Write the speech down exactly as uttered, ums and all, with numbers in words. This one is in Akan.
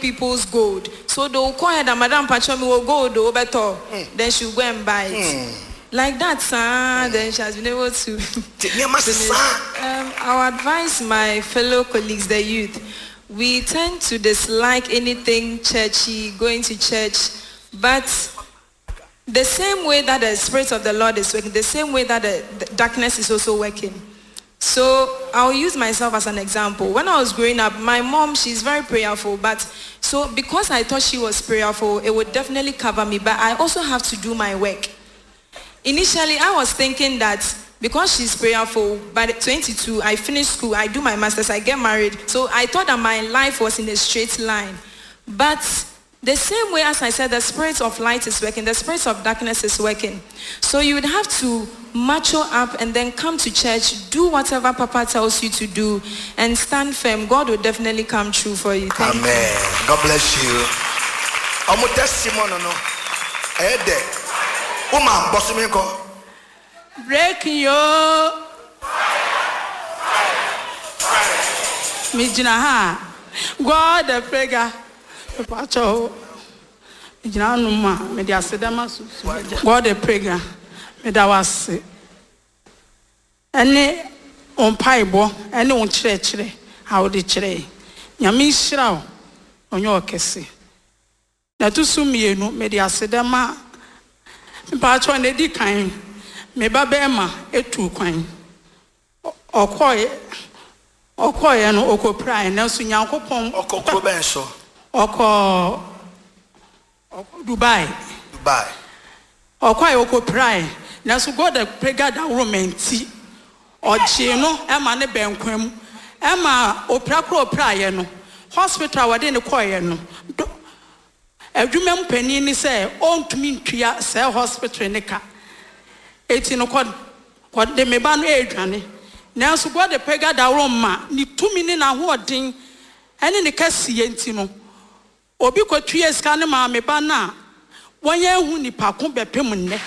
people's gold. So they will call her that Madam Pacho me will gold oh, better. Then she will go and buy it. Like that, sir, then she has been able to. Nti nneɛma finish. sesa. Um, I would advise my fellow colleagues, the youth, we tend to dislike anything churchy, going to church, but the same way that the Spirit of the Lord is working, the same way that the, the darkness is also working. So I'll use myself as an example. When I was growing up, my mom, she's very prayerful, but so because I thought she was prayerful, it would definitely cover me, but I also have to do my work. Initially, I was thinking that because she's prayerful, by the twenty-two, I finish school, I do my master's, I get married. So I thought that my life was in a straight line. But the same way as I said, the spirit of light is working, the spirit of darkness is working. So you would have to macho up and then come to church, do whatever Papa tells you to do, and stand firm. God will definitely come true for you. Thank you. Amen. God bless you. Ɔmo testimony no, ɛyɛ dɛ. Woma bɔsumi kɔ. Breaking yo. Megyina ha a, God the prayer. Mepakyɛw. Megyina hanom a mede aseda ma sunsum. God the prayer. Meda wo ase. Ɛne wo mpaebɔ, ɛne wo nkyerɛkyerɛ a wode kyerɛɛ. Nyame nhyira wo. Ɔnyɛ ɔkɛse. Na ɛto so mmienu, mede aseda ma mepakyɛw na edi kan. Me ba bɛrima etu kwan. Ɔ- Ɔkɔɔɛ ɔkɔɔɛ no ɔkɔpirae nanso Nyankopɔn Ɔkɔ kuro bɛn so? Ɔkɔ ɔkɔ Dubai. Dubai. Ɔkɔɔɛ ɔkɔpirae nanso God the prayer daworo mɛnti ɔgyee no ɛma ne bɛnkwan mu ɛma opira koro opiraeɛ no hospital a wɔde ne kɔɔɛ no do adwuma mu panin ni sɛ ɔntumi ntua sɛ hospital ne ka eti no kɔ kɔde me ba no ɛredwane nanso God the prayer daworo ma ne tumi ne n'ahoɔden ɛne ne kɛseɛ nti no obi kɔtua sika ne maame ba no a wɔnyɛ ehu nipa ko bɛpem nnɛ.